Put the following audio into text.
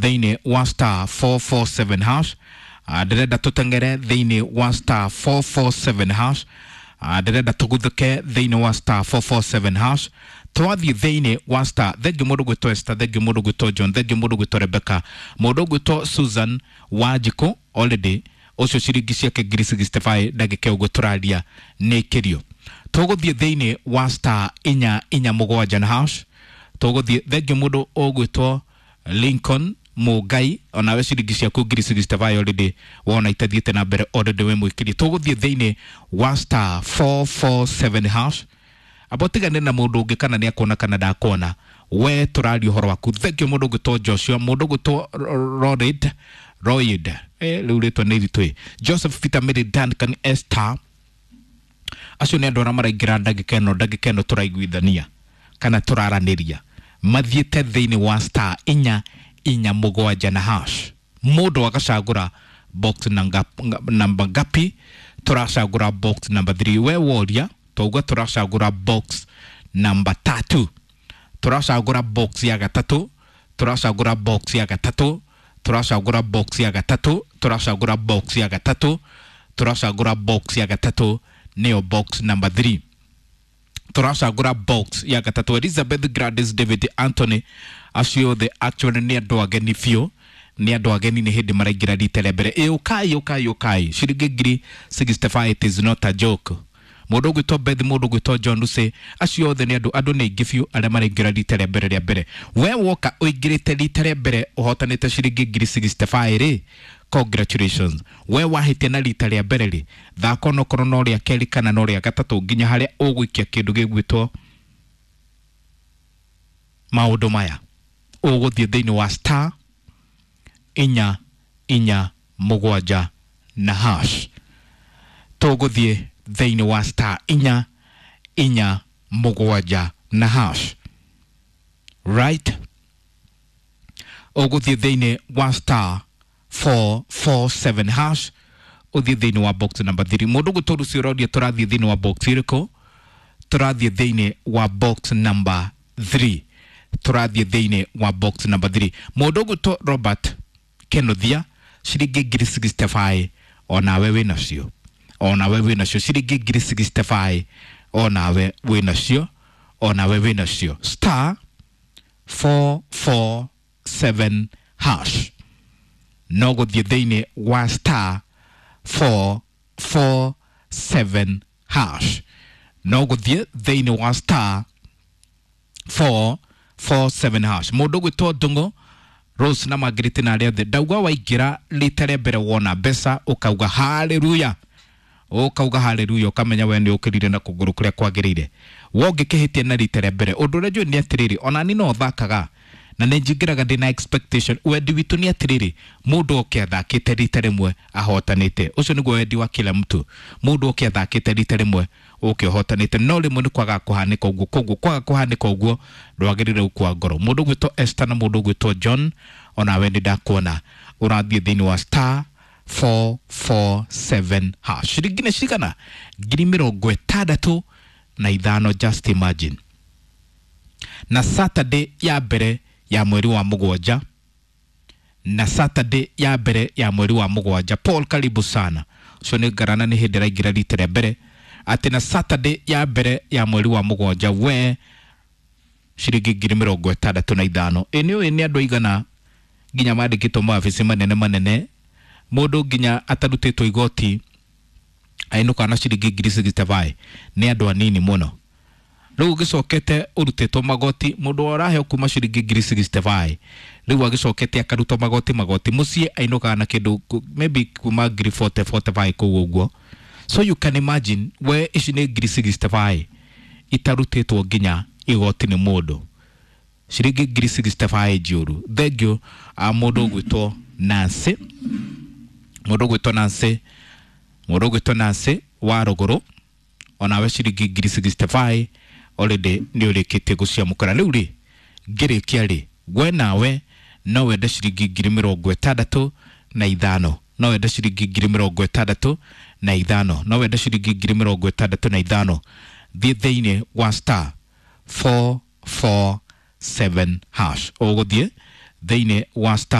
Thĩinĩ wa star 447 hash. Ndĩrenda tũteng'ere thĩinĩ wa star 447 hash. Ndĩrenda tũguthũke thĩinĩ wa star 447 hash. Twathiĩ thĩinĩ wa star. Thengiũ mũndũ gwĩtwo Esther, thengiũ mũndũ gwĩtwo John, thengiũ mũndũ gwĩtwo Rebecca, mũndũ gwĩtwo Susan Wanjikũ already ũcio ciringi ciake 65 ndagĩka ũguo tũraria nĩ kĩrio. Tũgũthiĩ thĩinĩ wa star 447 na hash. Tũgũthiĩ thengiũ mũndũ ũgwĩtwo Lincoln Mũngai, onawe ciringi ciaku 65 already wona itathiĩte na mbere already wĩ mũikĩrie. Tũgũthiĩ thĩinĩ wa star 447 hash. Amba ũtigane na mũndũ ũngĩ kana nĩ akuona kana ndakuona, we tũraria ũhoro waku. Thengiũ mũndũ ũgwĩtwo Joshua, mũndũ ũgwĩtwo Rorid Royd, rĩu rĩtwa nĩ iritũ ĩ. Joseph Peter, Mary, Duncan, Esther, acio nĩ andũ arĩa maraingĩra ndagĩka ĩno tũraiguithania kana tũraranĩria mathiĩte thĩinĩ wa star 447 na hash. Mũndũ agacagũra box namba ngapi? Tũracagũra box number 3. We woria twauga tũracagũra box namba 3, tũracagũra box ya gatatũ, tũracagũra box ya gatatũ, tũracagũra box ya gatatũ, tũracagũra box ya gatatũ, tũracagũra box ya gatatũ, nĩyo box number 3, tũracagũra box ya gatatũ. Elizabeth, Gladys, David, Anthony, acio othe actually nĩ andũ ageni biũ, nĩ andũ ageni, nĩ hĩndĩ maraingĩra rita rĩa mbere. Ĩ ũkai, ũkai, ũkai. Ciringi 65, it is not a joke. Mũndũ ũgwĩtwo Beth, mũndũ ũgwĩtwo John Lucy, acio othe nĩ andũ nĩ aingĩ biũ arĩa maraingĩra rita rĩa mbere rĩa mbere. We woka ũingĩrĩte rita rĩa mbere ũhotanĩte ciringi 65 rĩ, congratulations. We wahĩtia na rita rĩa mbere rĩ, thaka onokorwo no rĩa kerĩ kana no rĩa gatatũ nginya harĩa ũgũikia kĩndũ gĩgwĩtwo maũndũ maya. Ũgũthiĩ thĩinĩ wa star 447 na hash. Tũgũthiĩ thĩinĩ wa star 447 na hash, right? Ũgũthiĩ thĩinĩ wa star 447 hash, ũthiĩ thĩinĩ wa box number 3. Mũndũ gwĩtwo Lucy ũroria tũrathiĩ thĩinĩ wa box ĩrĩkũ? Tũrathiĩ thĩinĩ wa box number 3, tũrathiĩ thĩinĩ wa box number 3. Mũndũ ũgwĩtwo Robert Kenothia, ciringi 65 onawe wĩ nacio, onawe wĩ nacio ciringi 65, onawe wĩ nacio, onawe wĩ nacio. Star 447 hash. No gũthiĩ thĩinĩ wa star 447 hash, no gũthiĩ thĩinĩ wa star 447 hash. Mũndũ ũgwĩtwo Ndũng'ũ Rose na Margaret na arĩa othe, ndauga waingĩra rita rĩa mbere wona mbeca ũkauga haleluya, ũkauga haleluya, ũkamenya we nĩ ũkĩrire na kũgũrũ kũrĩa kwagĩrĩire. Wongĩkĩhĩtia na rita rĩa mbere, ũndũ ũrĩa njũĩ nĩ atĩrĩrĩ, ona ni no thakaga na nĩ njingĩraga ndĩna expectation. Wendi witũ nĩ atĩrĩrĩ, mũndũ oke athakĩte rita rĩmwe ahotanĩte. Ũcio nĩguo wendi wa kila mtu, mũndũ oke athakĩte rita rĩmwe ũke ũhotanĩte. No rĩmwe nĩ kwaga kũhanĩka ũguo, koguo kwaga kũhanĩka ũguo ndwagĩrĩire gũkua ngoro. Mũndũ ũgwĩtwo Esther na mũndũ ũgwĩtwo John, onawe nĩ ndakuona ũrathiĩ thĩinĩ wa star 447 hash. Ciringi nĩ cigana? 65,000. Just imagine, na Saturday ya mbere ya mweri wa mũgwanja, na Saturday ya mbere ya mweri wa mũgwanja. Paul, karibu sana. Ũcio nĩ ngarana, nĩ hĩndĩ ĩraingĩra rita rĩa mbere, atĩ na Saturday ya mbere ya mweri wa mũgwanja we ciringi 65,000. Ĩ nĩ ũĩ nĩ andũ aigana nginya mandĩkĩtwo mawabici manene manene, mũndũ nginya atarutĩtwo igoti ainũkaga na ciringi 65? Nĩ andũ anini mũno. Rĩu ũgĩcokete ũrutĩtwo magoti, mũndũ ũraheo kuma ciringi 65, rĩu agĩcokete akarutwo magoti mũciĩ ainũkaga na kĩndũ maybe kuma 40 45 kũu ũguo. So you can imagine, we ici nĩ 65 itarutĩtwo nginya igoti nĩ mũndũ, ciringi 65 njũru. Thengiũ a mũndũ ũgwĩtwo Nancy, mũndũ ũgwĩtwo Nancy, mũndũ ũgwĩtwo Nancy wa rũgũrũ, onawe ciringi 65 already nĩ ũrĩkĩtie gũciamũkĩra. Rĩu rĩ, ngĩrĩkia rĩ, we nawe no wende ciringi 65,000, no wende ciringi 65,000, no wende ciringi 65,000, thiĩ thĩinĩ wa star 447 hash. Ũgũthiĩ thĩinĩ wa star